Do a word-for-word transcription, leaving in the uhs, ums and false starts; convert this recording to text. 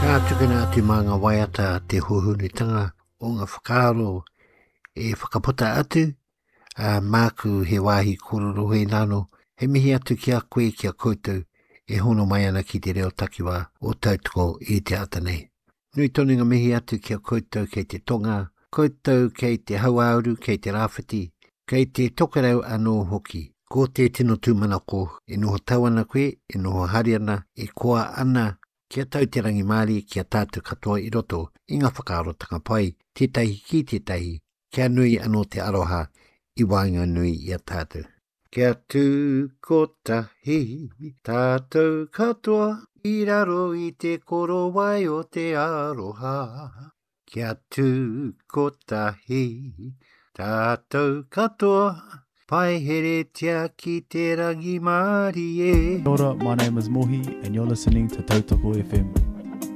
Ka tukuna atu mā ngā waiata te hōhonutanga o ngā whakaaro e whakaputa atu, ā, māku he wāhi kōrero hoi nāno, he mihi atu ki a koe, ki a koutou e hono mai ana ki te reo takiwā o Tautoko i te ata nei. Nui tonu ngā mihi atu ki a koutou kei te tonga, koutou kei te hauāuru, kei te rāwhiti, kei te tokerau anō hoki. Ko te tino tūmanako, e noho tau ana koe, e noho hari ana, e koa ana, kia tau te rangimārie ki a tātou katoa i roto i ngā whakaarotanga pai, tētahi ki tētahi, kia nui anō te aroha i waenganui i a tātou. Kia tū kotahi tātou katoa i raro i te korowai o te aroha. Kia tū kotahi tātou katoa, paiheretia ki te rangimārie. Kia ora, my name is Mohi and you're listening to Tautoko F M.